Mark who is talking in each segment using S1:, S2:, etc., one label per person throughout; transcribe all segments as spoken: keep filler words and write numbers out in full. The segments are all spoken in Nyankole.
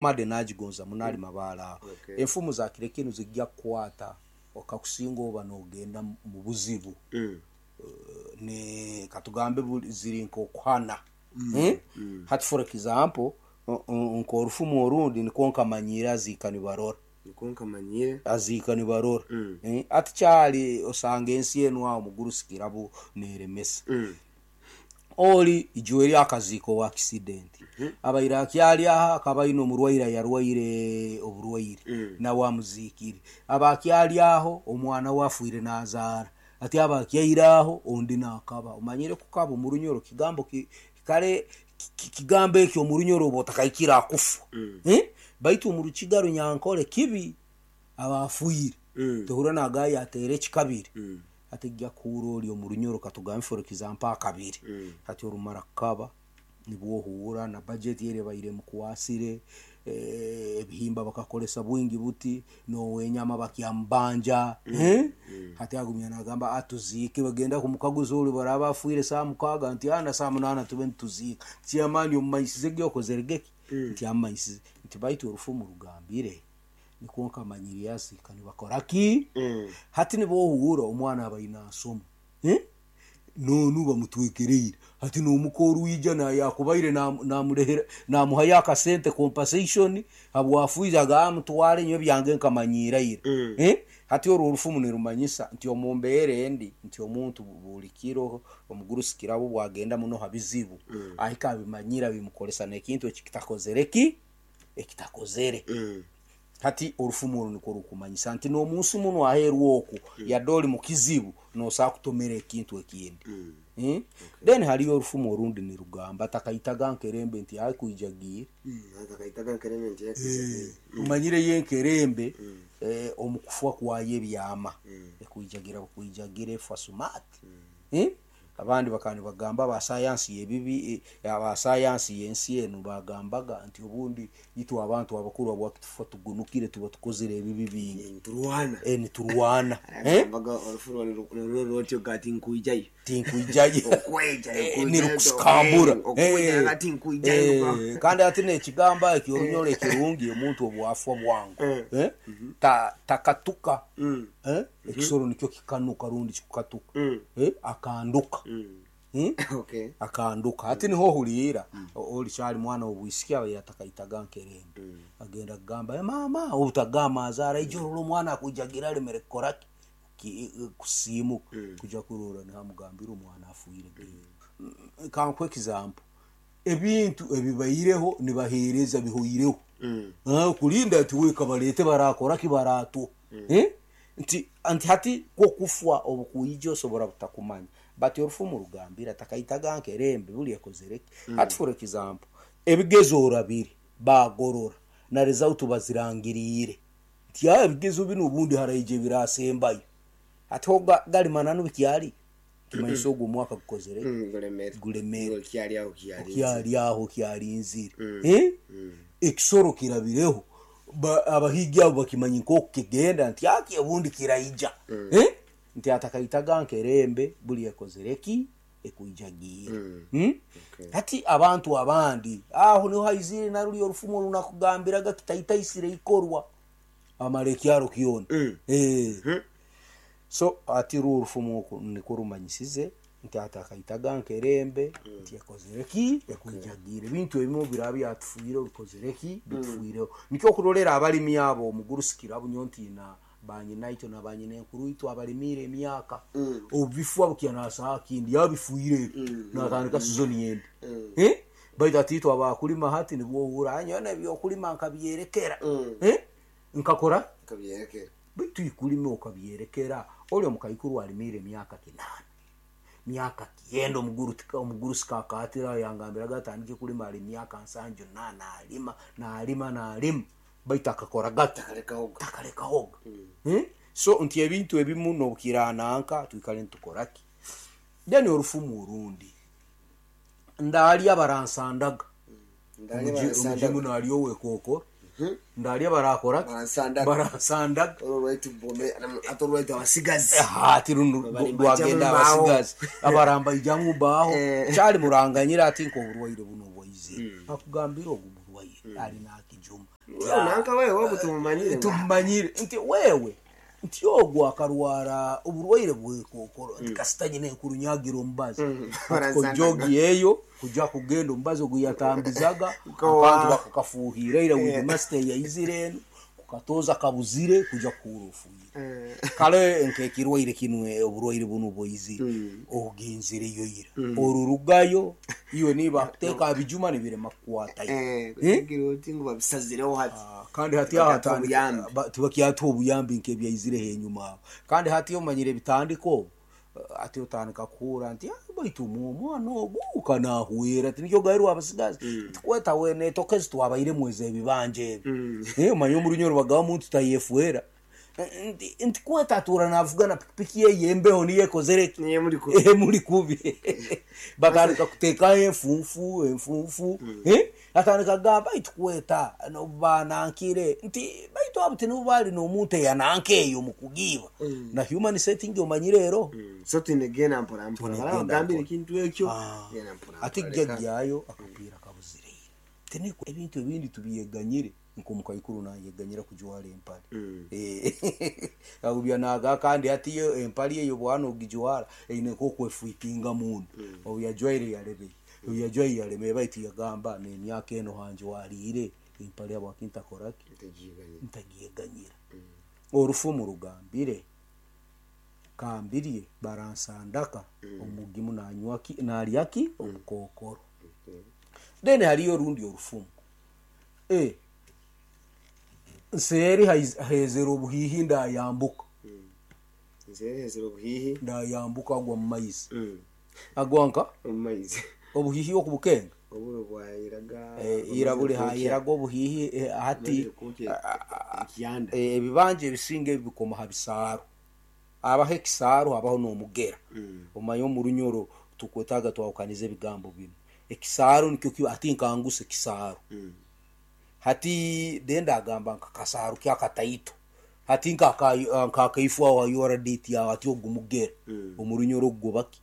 S1: Made nagigonza muno ali mabaale aho.
S2: Okay.
S1: Enfumu za kiro kinu zijja kukwata okakusinga oba n'ogenda mu buzibu.
S2: Mm.
S1: Ne katugambe buli- ziri nk'okuhana. Eh? Hati, for example, o- o- nk'orufumu orundi nikwo nkamanyire aziika nibarora.
S2: Niko nkamanyire.
S1: Aziika nibarora.
S2: Mm.
S1: Eh, ati kyali osanga ensi enu aho mugurusi kirabo neremesa.
S2: Mm.
S1: Oli ijuwe eri akaziiko wa accident, abaire akyali aha akaba aine omurwaire, ayarwaire oburwaire.
S2: Mm.
S1: Nawe amuziikire, aba akyali aho omwana we afiire nazaara, ati aba akyaire aho ondi nakaba omanyire kukaba omu Runyoro kigambo ki, kare ki- ki- kigambo ekyo omu Runyoro oba otakaikire akufa.
S2: Mm.
S1: Eh? Baitu omu Rukiga Runyankole kibi aba afiire.
S2: Mm.
S1: Tohura nagaya ateera ekikabiri.
S2: Mm.
S1: Ati ijja kuhura ori omu Runyoro, katugambe for example akabiri.
S2: Mm.
S1: Hati orumara kukaba nibwo ohuura na budget eri ebaire mukwasire, eh, ebihimba bakakolesa bwingi buti nowenyama bakyamubanja, eh? Hati agumya nagamba atuziike, bagenda kumukaguza oli baraba afiire saa mukaaga nti ana saa munaana tube nituziika. Kyamani omumanyisize gyokozere geki nti amanyisize nti baitu orufumu rugambire nikwo nkamanyire aziika nibakora ki.
S2: Mm.
S1: Hati nibohuura omwana abaine asoma, eh? Nonu bamutwekereire hati nomuka orwija nayakubaire nam- namurehera namuhayo akasente compensation habwafiire, agamba mutware nyowe byange nkamanyiiraire.
S2: Mm.
S1: Eh? Hati orwo orufumu nirumanyisa nti omu mbeera endi nti omuntu buli kiro omugurusi kirabo bwagenda muno ha bizibu, ahika abimanyira bimukolesa n'ekintu ekitakozere ki ekitakozere.
S2: Mm.
S1: Hati orufumu oru nikwo rukumanyisa nti n'omunsi muno aheeru oku yadde oli mu kizibu nosobola kutomera ekintu ekindi.
S2: Mm.
S1: Eh? Then haliyo orufumu orundi nirugamba takaitaga nkerembe nti akwijagiire.
S2: Mm. Akakaitaga nkerembe nti yakwijagiire.
S1: Omanyire yo enkerembe, eh, omu kufa kwayo ebyama ekwijagira bukwijagira efa smart. Eh? Abandi bakaba nibagamba abasayansi yebibi, eh, abasayansi yensi enu bagambaga nti obundi itwe abantu abakuru abwakitufa tugunukire tuba tukozere ebibi bingi.
S2: Nturwana.
S1: Eh, niturwana. Eh?
S2: Agambaga orufu rwo rwotyo gati nkwijayo.
S1: Tinkwijayo.
S2: Okweja.
S1: Eh, nirukusikambura.
S2: Okweja gati nkwijayo.
S1: Eh, kandi ati nekigamba ekyo orunyoro ekirungi omuntu obwafwa bwangu.
S2: Eh.
S1: Eh? Ta- takatuka.
S2: Mm.
S1: Eh? Ekisoro nikyo kikanuka rundi kikukatuka.
S2: Mm.
S1: Eh? Akanduka.
S2: Mm.
S1: Hmm?
S2: Okay.
S1: Akanduka ati niho ohuriira oli kyali mwana obwisiki abaire atakaitaga nkerembe agenda kugamba, "Eh, mama," obutagamba azaara ijo orora omwana akwijagira alemere kukora ki? Ki- kusiimuka kuja kurora nihamugambira omwana afiire. Mm, kankuhe example, ebintu ebibaireho nibaheereza bihoireho.
S2: Mm.
S1: Ah, kulinda ati weka balete barakora ki baratuha. Eh? nti nti hati kwokufa obukuija osobora butakumanya, but orufumu rugambira takaitaga nkerembe buli ekozere ki. Hati for example ebigezo orabire bagorora na result bazirangiriire nti aa ebigezo binu obundi haraija birasembayo, hati ho ga- gali mananu bikyali kimanyisa ogwo omwaka gukozere
S2: Mm, gulemere.
S1: Gulemere.
S2: Kyali aho kyali.
S1: Kyali aho kyalinzire. Eh? Ekisoro kirabireho. Ba- abahigi abo bakimanyi nkoku kigenda nti aki obundi kiraija. Eh? Nti atakaitaga nkerembe buli ekozere ki ekwijagiire. Hmm? Hati abantu abandi aho niho haizire naruli orufumu orunakugambiraga kitaitaisire ikorwa amara ekyaro kyona.
S2: Mm.
S1: Eh. So ati ru orufumu oku nikwo rumanyisize nti atakaitaga nkerembe nti ekozere ki ekwijagiire, ebintu ebimu biraba byatufiire bikozere ki bitufiireho. Nikyo okurolera abalimi abo omugurusi kirabunyo ntiina banyina itwe na banyina enkuru itwe abalimiire emyaka obubifwa bukya nasaha kindi yabifuire ebyo natandika sizoni endi. Eh? Baitu ati itwe abakulima hati nibwo ohura anyowe ebyokulima nkabyerekera. Eh? Nkakora
S2: Kabyerekera.
S1: baitu ikulima okabyerekera oli omukaikuru alimiire emyaka kinaana myaka kyenda omuguru tika- omugurusi kakatira yangambiraga atandike kulima ali myaka nsanju na nalima nalima nalima baitu akakora gata.
S2: Takalekaho.
S1: Takalekahoga. Eh? So nti ebintu ebimu nobukirananka twikale nitukoraki. Then orufumu orundi ndalya baransandaga.
S2: Ndali
S1: Omuji-
S2: baransandaga.
S1: omujimu nalya owekokoro ndalya barakora ki?
S2: Baransandaga.
S1: Baransandaga.
S2: Olwo lwaitu bome ate olwaitu abasigazi.
S1: Ati runo
S2: Babalimba
S1: rwagenda
S2: jamu mbaho.
S1: abasigazi abaramba ijamu mbaho.
S2: Eh.
S1: Kyali muranganyira ati nk'oburwaire buno obwaizire akugambira ogu murwaire ali nakina. kijuma.
S2: Wewe nanka wewe wobu tumumanyire.
S1: Tumumanyire nti wewe nti ogwo akarwara oburwaire bwekokoro nti kasita nyine enkurunyagira omubazi kojogi eyo kuja kugenda omubazi ogu yatambizaga abantu bakakafuhira ira widimasita yaizire enu kukatoza kabuzire kuja kuhura ofuire kale nkekirwaire kinu oburwaire bunu bwaizire ogenzireyo ira orurugayo iwe niba kuteeka bijuma nibirema kukwatayo.
S2: Eh, kugira uti ngo babisazireho hati.
S1: Kandi hati aho tibakyatuha obuyambi nk'ebyaizire henyuma aho. Kandi hati omanyire ebitandiko ati otandika kuhura nti baitu omwana ogu kanahwera ati nikyo gairwa abasigazi tikweta wene tokezi twabairemu eze ebibanja ebi. Omanye omurunyoro bagaba omuntu tayefuera nti kweta atura navuga na pikipiki ye yembeho niyo ekozere emuri kubi. Batandika kuteekayo enfunfu enfunfu atandika kugamba baitu kweta banankire nti baitu abo tinibo bali n'omuntu eyananka eyo mu kugiiba na human setting omanyire ero.
S2: So tunegenda mpora mpora bagambire ekintu ekyo genda mpora.
S1: Ati gyayo akapiira kabuzireire tiniko ebintu ebindi tubiyeganyire nkomukaikuru nayeganyira kujwara empale. Agubya naga kandi ati yo empale eyo bwana ogijwara eine nk'okwefuitinga mundu obu yajwaire yarebe obu yajwaire yareme baitu yagamba n'emyaka eno hanjwariire empale abwakintakoraki ntagiyeganyira. Orufumu rugambire kambirye baransandaka omugimu nanywaki nalyaki omukokoro. Then hariyo orundi orufumu eh nseeri hezera obuhihi ndayambuka.
S2: Nseeri hezera obuhihi
S1: ndayambuka agwa mu maizi. Agwa nka
S2: mu maizi
S1: obuhihi okubukenga
S2: oburo bwayiraga
S1: ira buli hayiraga obuhihi hati ebibanja ebisinga ebikoma ha bisaaro abaho ekisaaro habaho n'omugera. Omanye omurunyoro tukwetaga twawukaniza ebigambo binu. Ekisaaro nikyo kiba ati nkanguse ekisaaro. Hati denda agamba nkakasaaro kyakataito hati nkakaifu aho ayora date yawe ati ogumugera omurunyoro gubaki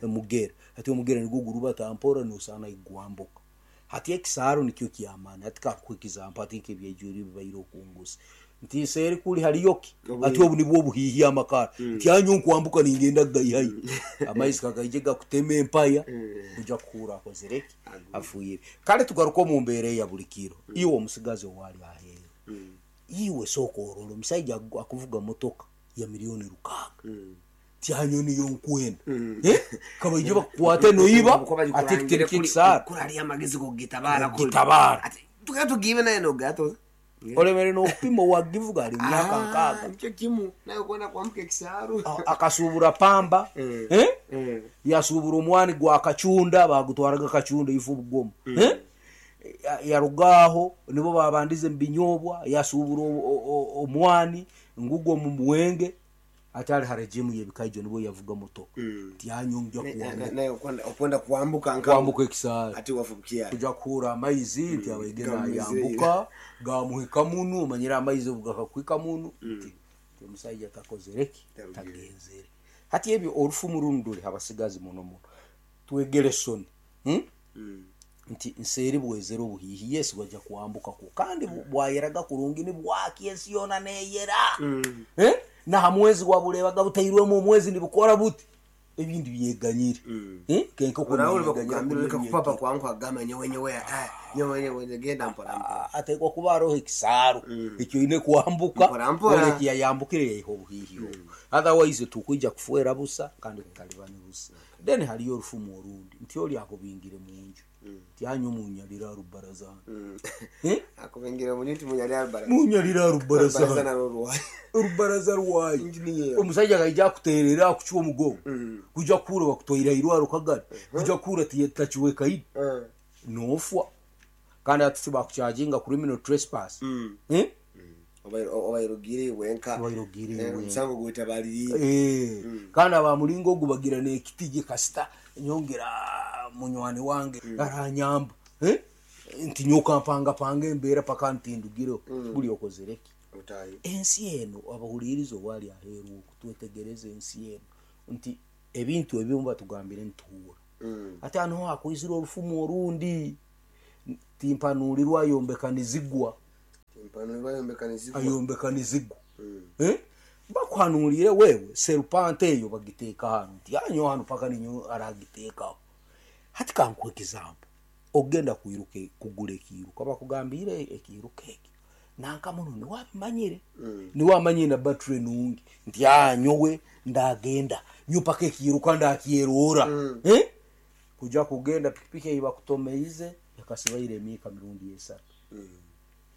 S1: mugera hati omugera nigwo guruba tampora nosana igwambuka. Hati ekisaaro nikyo kyamani hati kakwikiza mpa ati nk'ebyejuri bibaire okungusa nti seeri kuli hariyoki ati obu nibwo obuhihi amakara nti anyo nkwambuka ningenda gaihai amaizi kagaije gakutema empaya kuja kuhura akozereki afuire. Kale tugaruka omu mbeera ya buli kiro iwe omusigazi owali aheeru iwe sooka orora omushaija akuvuga motoka ya miliyoni rukaaga tyanyo niyo nkwenda kabaije bakukwate noiba ati kitereka ekisaaro
S2: kurari amagezi gogitabara
S1: gitabara
S2: tukatugibe naye nogatoza
S1: olemere n'okupima wagivuga ali myaka nkaaga
S2: nikyo kimu naye kwenda kwambuka ekisaaro
S1: akasubura pamba eh yasubura omwani gwa kacunda bagutwaraga kacunda ifu bugomo eh yarugaho nibo babandize mbinyobwa yasubura omwani ngugwo mu mwenge atali harejimu yebikaijo nibo yavuga motoka tyanyo njya
S2: naye kwenda kwambuka
S1: kwambuka ekisaaro
S2: ati wafubukia
S1: kuja kuhura amaizi nti abaigena yambuka gamuhika munu omanyira amaizi gakakwika munu nti omusajja takozereki tagenzere. Hati ebyo orufumu runo ruri abasigazi muno muno twegere soni nti nseeri bwezera obuhihi yesi bwajja kwambuka ku kandi bwayeraga kurungi nibwaki ensi yona neyera eh na hamwezi wabulebaga butairwemu omwezi nibukora buti ebindi byeganyire eh kenko
S2: kunagambira kupapa kwangu agamba nyewe nyewe ah nyewe nyewe genda mpora mpora
S1: atekwa kuba roho ekisaaro ekyo ine kwambuka ole kiyambukire yaiho obuhihi otherwise tukwija kufuera busa kandi kutalibani busa. Then haliyo orufumu orundi nti oli akubingire munju tyanyo munyalira rubaraza eh
S2: akubingire munju munyalira rubaraza
S1: munyalira rubaraza rubaraza rwayi omusajja kaija kuterera akuchwa omugongo kuja kura bakutoira irwaro kagari kuja kura tachiweka idi nofwa kandi ati bakucharginga criminal trespass eh
S2: obairogire wenka
S1: obairogire wenka
S2: musango gwetabaliri
S1: eh kandi abamulingo ogubagira n'ekitije kasita nyongera munywani wange aranyamba eh nti nyoka mpanga panga embeera paka ntindugire buli okozereki ensi eno abahulirizo wali aheeru okutwetegereza ensi eno nti ebintu ebimu batugambire ntuhura ate hano hakwizira orufumu orundi Timpanurirwa ayombeka nizigwa.
S2: Timpanurirwa ayombeka nizigwa.
S1: Ayombeka nizigwa. Eh? Bakuhanurire wewe serupante eyo bagiteeka hano nti anyo hano paka ninyo aragiteekaho. Hati kankuhe example. Ogenda kwiruka kugura ekiiruka bakugambire ekiiruka ekyo nanka muno niwabimanyire
S2: Mm.
S1: niwamanyire na battery nungi nti anyowe ndagenda nyo paka ekiiruka ndakyerora.
S2: Mm.
S1: Eh? Kuja kugenda pikipiki eyi bakutomeize yakasibaire emyika mirundi esatu.
S2: Mm.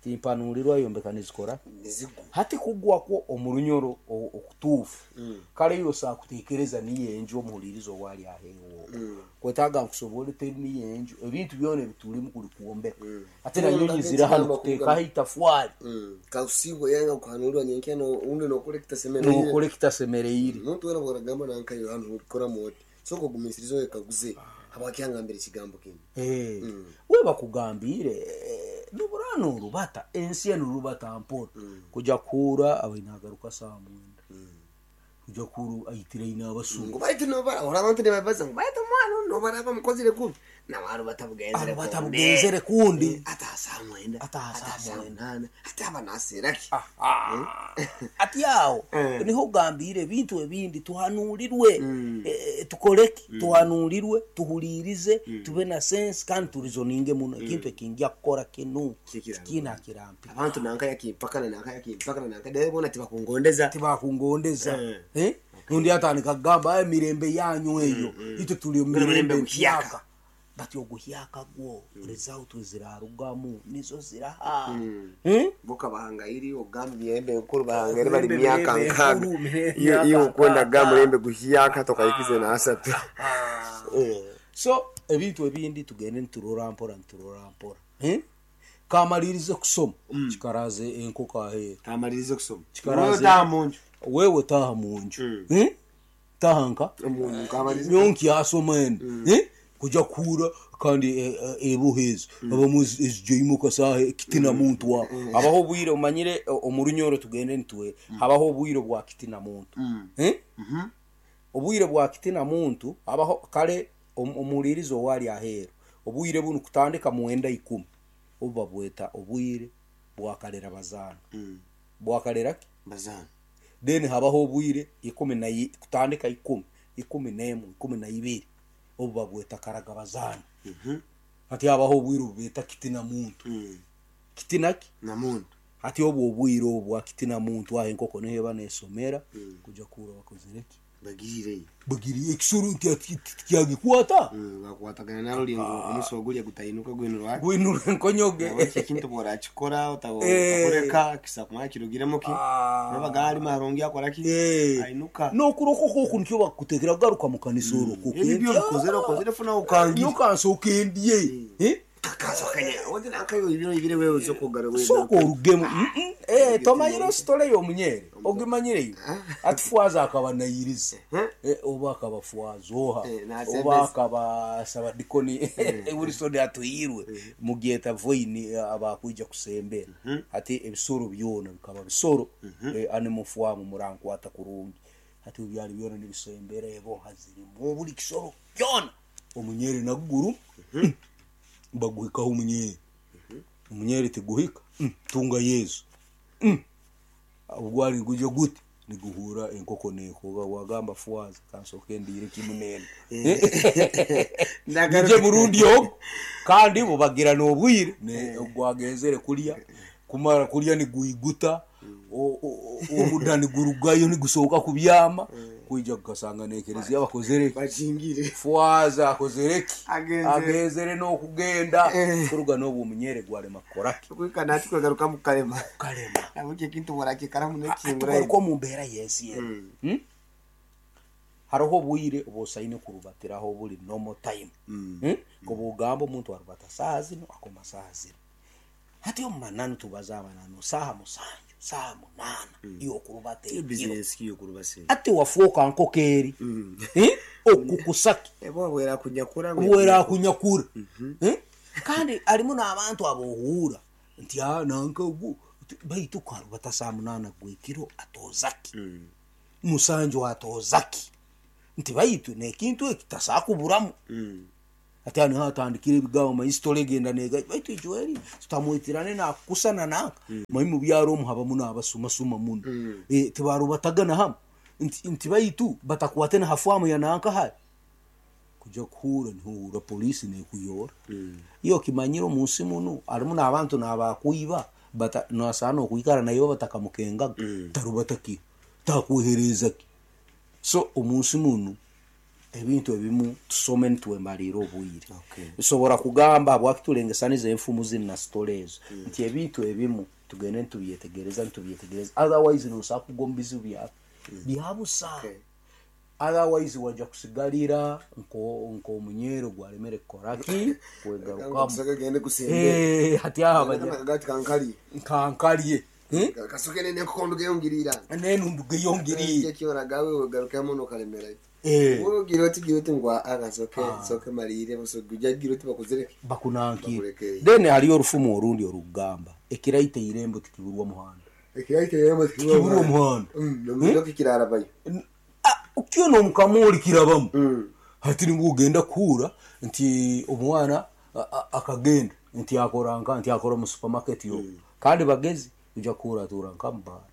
S1: Timpanurirwa ayombeka nizikora
S2: Nizigwa.
S1: hati kugwakwo omurunyoro o- okutuufu.
S2: Mm.
S1: Kale yo saakuteekereza niyo enju omuhuliriza owali aheewo.
S2: Mm.
S1: Kwetaaga nkusobole teri niyo enju ebintu byona ebitulimu kuli kwombeka.
S2: Mm.
S1: Ate na nyonyi ziri hano
S2: Kugamba-
S1: kuteekaho itafwari.
S2: Mm. Kausigwa yanga kuhanurwa nyenkya no undi nokora ekitasemereire.
S1: Nokora ekitasemereire.
S2: Omuntu wena bwaragamba nanka yo hano ukora moti soko gumisiriza wekaguze abakyangambira ekigambo kinu.
S1: Eh.
S2: Mm.
S1: We bakugambire eh, nuburano orubata ensi eno rubata mpora. Kuja kuura abainagaruka saa mwenda. Kuja kuura aitire ina abasuma.
S2: Ngo baitu nobara ora abantu nibabaza ngo baitu mwana nobara bamukozire kubi nabaru batabugenzere.
S1: Batabugenzere kundi.
S2: Ata saa mwenda.
S1: Ata saa mwenda.
S2: Munana ata abanasiraki.
S1: Aha. Ati aho
S2: Eh.
S1: niho ogambire ebintu ebindi tuhanurirwe.
S2: Mm.
S1: Eh, tukoreki tuhanurirwe tuhuririze tube na sense kandi turizoninge muno ekintu ekinja kukora kinu
S2: Kikira-
S1: kina kirampi.
S2: Abantu nanka yakimpakana nanka yakimpakana nanka dai bona tibakungondeza.
S1: Tibakungondeza.
S2: Eh.
S1: Eh? Nundi atandika kugamba "Ai, mirembe yanyu eyo itwe tuli omu
S2: Mirembe
S1: mirembe
S2: guhyaka."
S1: mpyaka. Bati oguhyaka gwo result zirarugamu nizo ziraha.
S2: Mm.
S1: Eh?
S2: Boka bahangairi ogamba mirembe enkuru bahangairi bali
S1: Mirembe
S2: myaka nkaga.
S1: enkuru, mirembe
S2: Iyo iyo
S1: myaka
S2: ukwenda
S1: nkaga.
S2: ga murembe guhyaka tokayikize na asatu. Eh.
S1: So ebintu ebindi tugende niturora mpora niturora mpora. Eh? Kamalirize kusoma kikaraze enkoko aheeru.
S2: Kamalirize kusoma.
S1: Kikaraze-
S2: Wewe munju.
S1: Wewe taha munju.
S2: Mm.
S1: Eh? Taha nka
S2: Munju kamalirize.
S1: nyonki yasoma eno. Eh? Kuja kuura kandi eh, eh, ebuhezo abamu ezijeimuka saaha kitina muntu wa habaho obwire omanyire eh, omurunyoro tugende nitwe habaho obwire bwa kitina muntu.
S2: Mm.
S1: Eh?
S2: Mhm.
S1: Obwire bwa kitina muntu habaho kale om- omuhuliriza owali aheeru obwire bunu kutandika mwenda ikumi obu babweta obwire bwakalera bazaana.
S2: Mm.
S1: Bwakalera ki
S2: Bazana.
S1: then habaho obwire ikumi na i- kutandika ikumi ikumi n'emwe ikumi na ibiri obu babweta karaga bazaana.
S2: Mhm.
S1: Hati habaho obwire obubeta kitina muntu.
S2: Mm.
S1: Kitina ki
S2: Na muntu.
S1: hati obwo obwire obwo bwa kitina muntu aho enkoko niho eba nesomera. Kuja kuura bakozire ki
S2: Bagirire.
S1: bagiriye ekisoro nti ati- tikyagikwata.
S2: Mm, bakwatagana narulingo omusi ogulya gutayinuka gwinurwa.
S1: Gwinura enkonyoge.
S2: Eki ekintu bworakikora
S1: Eh.
S2: otakoreka kisa kumara kirugiremu ki
S1: Ah.
S2: nabaga ali marungi akora ki
S1: Eh.
S2: ainuka.
S1: N'okurokoka oku nikyo bakutekera kugaruka mu kanisa orokoke.
S2: Ebi byo bikozere okozere funa ukangi.
S1: Nyokansoka endye. Eh?
S2: Kakasokanya ondi nankayo ibiro ibire wewe uzokogara wewe.
S1: Sooka orugemu. Mm-mm. Eh, tomanyire ositole y'omunyere ogimanyireyo ati fwaza akaba nayiriza. Eh, oba akaba fwaza oha
S2: Eh, nasembeza.
S1: oba akaba sabadikoni Wilson atuhirwe mugyeta voini abakwija kusembera ati ebisoro byona bikaba bisoro. Eh, animal farm murankwata kurungi ati byali byona nibisembera ebo hazirimu buli kisoro byona omunyere naguguru baguhikaho omunyere. Omunyere tiguhika. Mm, tunga Yesu. Mm. Ogwali guje gute niguhura enkoko nekoga wagamba fwaza kansoke ndire kimunene
S2: Ndagaruka.
S1: nje murundi ogo kandi bubagira n'obwire ne gwagenzere kulya kumara kulya niguiguta o- o- o- omuda nigurugayo nigusohoka kubyama kwija kukasanga nekereziya bakozere
S2: Bajingire.
S1: fwaza akozere ki
S2: Agenzere.
S1: agenzere n'okugenda
S2: Eh.
S1: kuruga n'obwo omunyere gwarema kukoraki
S2: Kwika nati kwagaruka mu kalema.
S1: kalema.
S2: Nabuke ekintu bworakikaramu nekingura.
S1: Tugaruka omu mbeera y'ensi eno. Hmm? Hariho obwire obusaine kurubatiraho buli normal time. Hmm? Kuba ogamba omuntu arubata saaha zino akoma saaha zino hati omu mananu tubaza amananu saaha musanju saaha munaana iyo okurubata ekiro.
S2: Business kiyo kurubase.
S1: Ati wafuuka nkoko eri. Eh? Okukusaki
S2: Ebo bwera kunyakura.
S1: bwera kunyakura. Eh? Kandi harimu n'abantu abohuura nti ah, nanka ogu baitu karubata saa munaana gwekiro atoozaki musanju atoozaki nti baitu nekintu eki tasakuburamu.
S2: Mm.
S1: Ati hano hatandikire ebigambo manyi sitore egenda nega baitu ijweri tutamwitirane nakukusana nanka manyi mu byaro omu habamu n'abasumasuma muno. Eh, tibarubatagana hamwe nti nti baitu batakwate na hafamu ya nanka hari kuja kuhura nihuura polisi nekuyora iyo kimanyire omunsi muno harimu n'abantu n'abakwiba bata nasaana okwikara nayo batakamukengaga tarubataki takwehereza ki. So omunsi muno ebintu ebimu tusome nitwemalira obwire.
S2: Okay.
S1: Nsobora kugamba habwaki tulengesaniza enfumu zinu na sitore ezo nti ebintu ebimu tugende nitubyetegereza nitubyetegereza, otherwise nosobola kugwa omu bizibu byawe byabusa.
S2: Okay.
S1: Otherwise wajja kusigalira nko nk'omunyero gwaremere kukoraki kwegarukamu.
S2: Kasoke gende kusembe.
S1: Eh, hati aha baja
S2: Kagati kankali.
S1: nkankalye. Eh?
S2: Kasoke nene kondo geyongirira.
S1: Nenundu geyongiriire.
S2: Kyona gawe wegarukamo nokalemera.
S1: Eh,
S2: Wowe gira oti gira oti ngwa akasoke soke malire busoke ujya gira oti bakuzereke.
S1: Bakunankire.
S2: Bakurekere.
S1: Then hariyo orufumu orundi orugamba ekiraita irembo tikiburwa muhanda.
S2: Ekiraita irembo
S1: Tikiburwa muhanda.
S2: Mm, nomiro kikirara bayo.
S1: Ah, ukiona omukamoli kirabamu.
S2: Mm.
S1: Hati nibwo ogenda kuhura nti omwana a- a- akagenda nti akora nka nti akora mu supermarket yo kandi bagezi uja kuhura atura nka mubara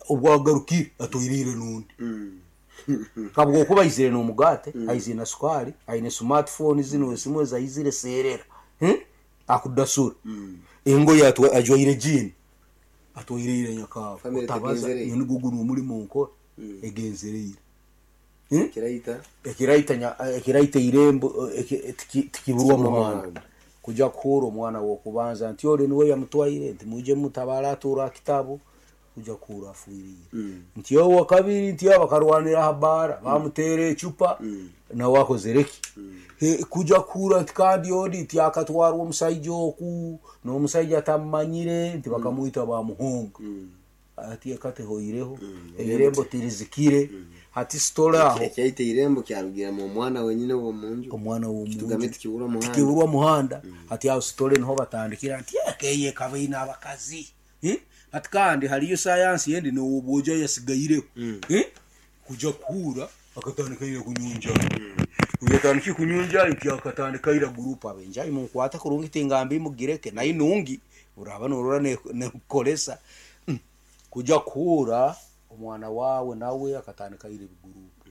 S1: obwagarukire atoirire nundi.
S2: Mm.
S1: Kabwo kuba aizire n'omugate, aizire na sukari, aine smartphone zino esimu ezaizire serera. Hmm? Akudasura engoye atwa- ajwaire jini atwairire nyakawa
S2: Family
S1: otabaza
S2: tegenzereye.
S1: nigugu n'omulimo nkora egenzereire. Hmm?
S2: Kiraita
S1: ekiraita nya- ekiraita irembo eki- tiki- tikiburwa muhanda.
S2: Muhanda.
S1: Kuja kuhura omwana wokubanza nti ole niwe yamutwaire nti muje mutabara atura kitabu kuja kuhura afuirire nti owa kabiri nti aba bakarwanira aha bara bamuteera ecupa nawe akozereki. He, kuja kuhura nti kandi ondi nti akatwarwa omusaija oku n'omusaija atamumanyire nti bakamwita bamuhonga ati ekatehoireho irembo tirizikire hati sitore aho.
S2: Ekiraita irembo kyarugira mu mwana wenyine wo munju.
S1: Omwana w'omunju.
S2: Tugambe tikibura muhanda.
S1: Tikiburwa muhanda. Hati aho sitore niho batandikira nti ekeye ekaba ine abakazi. Eh? Hati kandi hariyo sayansi yendi nowobwoja yasigaireho. Eh? Kuja kuhura akatandika ira kunyunja uyatandika kunyunja nti akatandika ira gurupu abenjai munkwata kurungi tingambi mugireke naye nungi uraba norora nekukolesa. Mm. Kuja kuhura omwana wawe nawe akatandika ira ebigurupu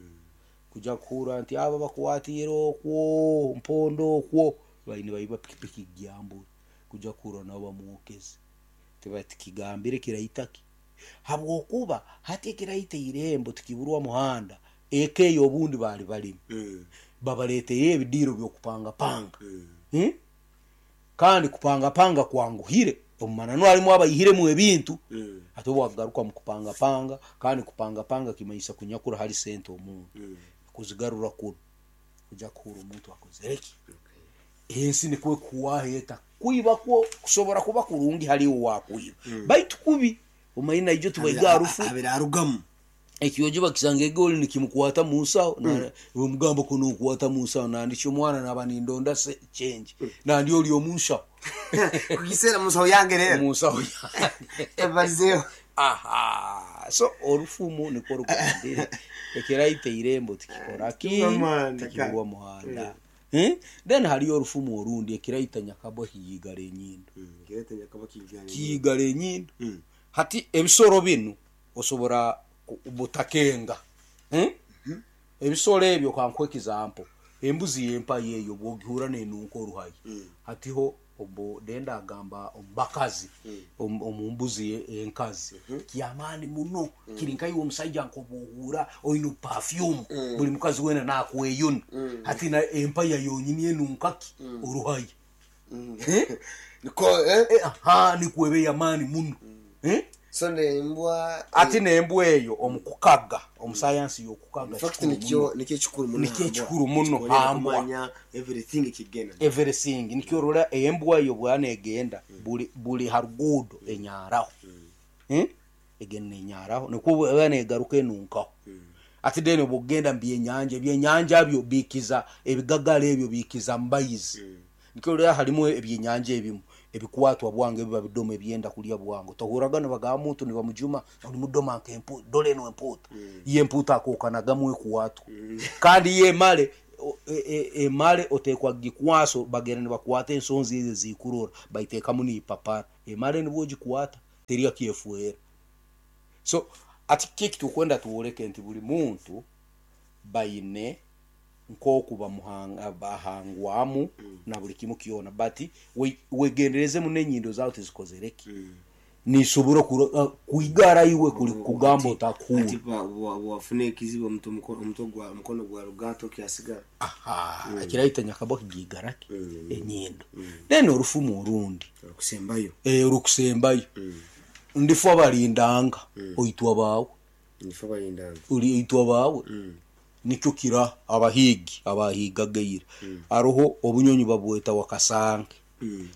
S1: kuja kuhura nti aba bakwatire okwo mpondo okwo baine baiba pikipiki gyambura kuja kuhura nabo bamwokeze tibatikigambire kiraitaki habwokuba hati ekiraita irembo tikiburwa muhanda ekeyo obundi bali balimu
S2: Mm.
S1: babaleeteye ebidiiro byokupangapanga. Hmm? Kandi kupangapanga kwanguhire omumananu harimu abaihiremu ebintu.
S2: Mm.
S1: Ate obwagaruka mu kupangapanga kandi kupangapanga kimanyisa kunyakura hari sente omuntu kuzigarura kuno kuja kuhura omuntu akozereki ensi nikwe kuwaheta kwiba kwo kusobora kuba kurungi hariwo wakwiba baitu kubi omanyi naijo tubaiga harufu
S2: Abira arugamu.
S1: Ekyojo bakisanga egoli nikimukwata munsaho bamugamba kuno okukwata munsaho nandikyo omwana naba nindonda se change nandi oli omunsaho.
S2: Kugisera musaho yange rero.
S1: Munsaho yange.
S2: Ebarizeho.
S1: Aha, so orufumu nikwo rugambire ekiraita irembo tikikora ki
S2: Tikiburwa muhanda,
S1: tikiburwa muhanda. Eh? Then hariyo orufumu orundi ekiraita nyakabwa kiyigara enyindo.
S2: Kiraita nyakabwa kiyigara.
S1: Kiyigara enyindo. Hati ebisoro binu osobora ku- butakenga. Eh? Ebisoro ebyo kankuhe example embuzi yempa yeyo bwogihura nenunka oruhayi hatiho obo denda agamba omubakazi om- omumbuzi ye- enkazi kyamaani muno kiri nkaiwe omusaija nkobuhura oine perfume buli mukazi wena nakweyuna hati na empaya yonyini enunkaki oruhayi. Eh?
S2: Niko eh
S1: Eh, aha nikwebe yamaani muno. Eh?
S2: So nembwa
S1: Ati nembwa eyo omukukaga omusayansi yokukaga
S2: In fact
S1: kikuru
S2: nikyo
S1: muno.
S2: nikyo ekikuru muno.
S1: Nikyo ekikuru muno,
S2: Kikonyera
S1: hambwa.
S2: kumanya everything kigenda.
S1: Everything nikyo orora embwa eyo bwana egenda buli buli harugudo enyaraho. Eh? Egenda enyaraho nikwo bwana egaruka enunkaho. Ati then obugenda mbyenyanja ebyenyanja byo bikiza ebigagala ebyo bikiza mbayizi nikyo orora harimu ebyenyanja ebimu ebikwatwa bwange biba bidoma ebyenda kulya bwangu tohuraga nibagamba muntu nibamujuma oli mudoma nke empu dole eno empuuta ye empuuta akookanagamu ekuwatwa kandi ye emale o- e- e- emale otekwa gikwaso bagenda nibakwata ensonzi ezo ezikurora baiteekamu niipapara emale nibwo ogikwata teri akyefuera. So ati kiki tukwenda tuworeke nti buli muntu baine nk'oku bamuhanga bahangwamu na buli kimu kyona, but we- wegendereze muno enyindo zawe tizikozereki nisobora kuro- uh, kwigara iwe kuli kugamba
S2: Ati
S1: otakuhura.
S2: ba- wa- wafuna ekizibu omuto muko- omutwe gwa omukono gwa rugato kyasigara.
S1: Aha, ekiraita nyakabwa kigigaraki enyindo, then orufumu orundi
S2: okusembayo.
S1: eh, orukusembayo ndifu abalindanga oitwa bawe.
S2: Nifo balindanga.
S1: Uri oitwa bawe nikyo kira abahigi abahigageire aroho obunyonyi babweta wakasange,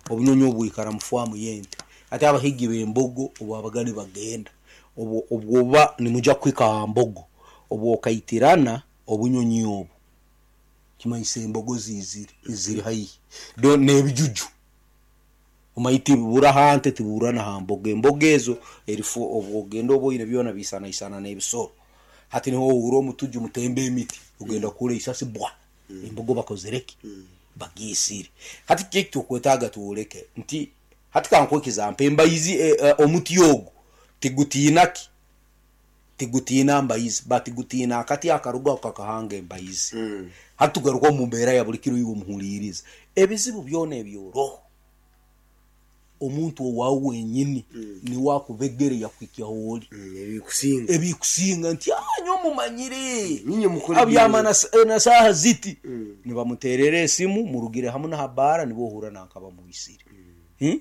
S1: obunyonyi obwikara mufwamu yente, ate abahigi b'embogo obwabaga nibagenda obwo obwoba nimuja kuhika aha mbogo obwo okaitirana obunyonyi obu kimanyisa embogo zizire ziri haihi. Do n'ebijuju omanyi tibubura hante tibubura na ha mbogo, embogo ezo erifu obwogenda oboine byona bisanaisana n'ebisoro, hati niho ohura omutuju mutemba emiti ogenda kura isasi bwa embogo bakozereki bagiisire. Hati kiki tukwetaaga tuworeke nti hati kankwekiza mpa embaizi eh, eh, omuti ogu tigutiinaki tigutiina mbaizi but gutiina akati akarugaho kakahanga embaizi. Hati tugaruka omu mbeera ya buli kiro, iwe omuhuriiriza ebizibu byona ebyoroho omuntu owawe wenyini niwe akubegere yakuhikyaho ori
S2: ebikusinga
S1: ebikusinga nti anyo mumanyire
S2: Ninye mukore
S1: abyama na, na saaha ziti nibamuterera esimu murugire hamu na habara nibo ohura nanka bamuisire hmm?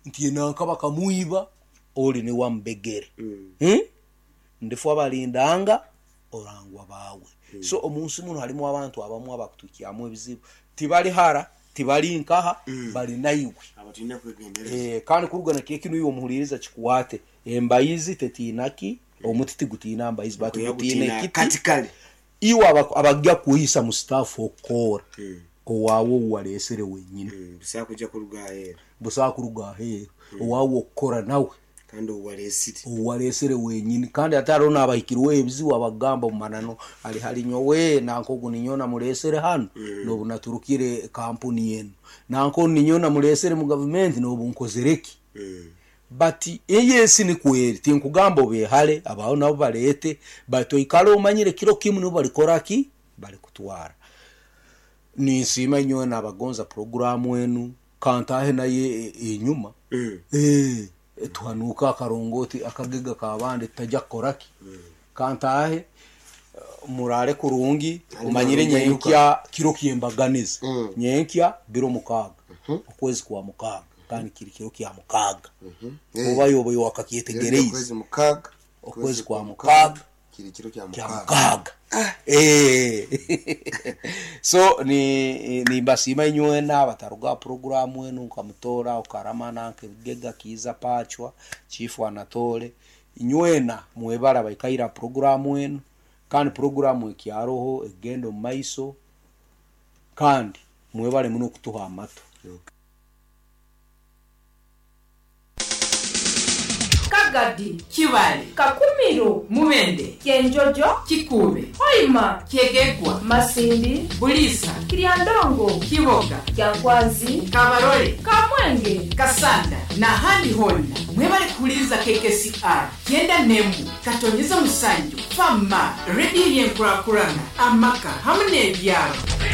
S1: Nti nanka bakamwiba ori niwe amubegere hmm? Ndifu abalindanga orangwa bawe. So omunsi muno harimu abantu abamu abakutukyamu ebizibu tibali hara tibali nkaha bali naiwe.
S2: Abatulina kwegendereza.
S1: Eh, kandi kurugana kekinu iwe omuhuliriza kikwate embayizi tetiinaki omuti tigutiina mbayizi batugutiina
S2: Kuyagutiina
S1: ekiti
S2: kati kale
S1: iwe aba- abajja kuhisa mu staff okukora owaawe owalesere wenyini.
S2: Busaa kujja kuruga aheeru.
S1: Busaa kuruga aheeru owaawe okukora nawe
S2: kandi owalesire
S1: owalesere wenyini, kandi ate hariho n'abahikirweho ebizibu abagamba omumanano ali hali nyowe nanka ogu ninyo namulesere hanu nobu naturukire kampuni enu nanka onu ninyo namulesere mu gavumenti nobu nkozereki, but eyensi nikweri tinkugamba obehale abaho nabo balete but oikale omanyire kiro kimu nibo balikoraki balikutwara. Ninsiima nyowe nabagonza programu enu kantahe naye e- enyuma Eh, tuhanuka akarongoti akagega kabandi tutajja kukoraki kantahe eh, murare kurungi umanyire nyenkya kiro kyembaganiza nyenkya biro mukaaga okwezi kwa mukaaga kandi kiri kiro kya mukaaga oba yoba wakakyetegereize
S2: okwezi mukaaga
S1: okwezi kwa mukaaga
S2: kiri kiro kya
S1: kya
S2: mukaaga
S1: mukaaga. Eh. So ni nimbasiima inywena bataruga programu enu nkamutora ukarama nanka ebigega kiiza pachwa chifu anatole inywena mwebara baikaira programu enu kandi programu ekyaroho egenda omu maiso kandi mwebale muno okutuha amatu.
S3: Kagadi,
S4: Kibale,
S3: Kakumiro,
S4: Mubende,
S3: Kyenjojo,
S4: Kikube,
S3: Hoima,
S4: Kyegegwa,
S3: Masindi,
S4: Bulisa,
S3: Kiryandongo,
S4: Kiboga,
S3: Kyankwanzi,
S4: Kabarole,
S3: Kamwenge,
S4: Kasanda n'ahandi honna mwebale kuwuliriza K K C R kyenda nemu katonyeza musanju fama rediyo y'enkurakurana amaka hamwe n'ebyaro.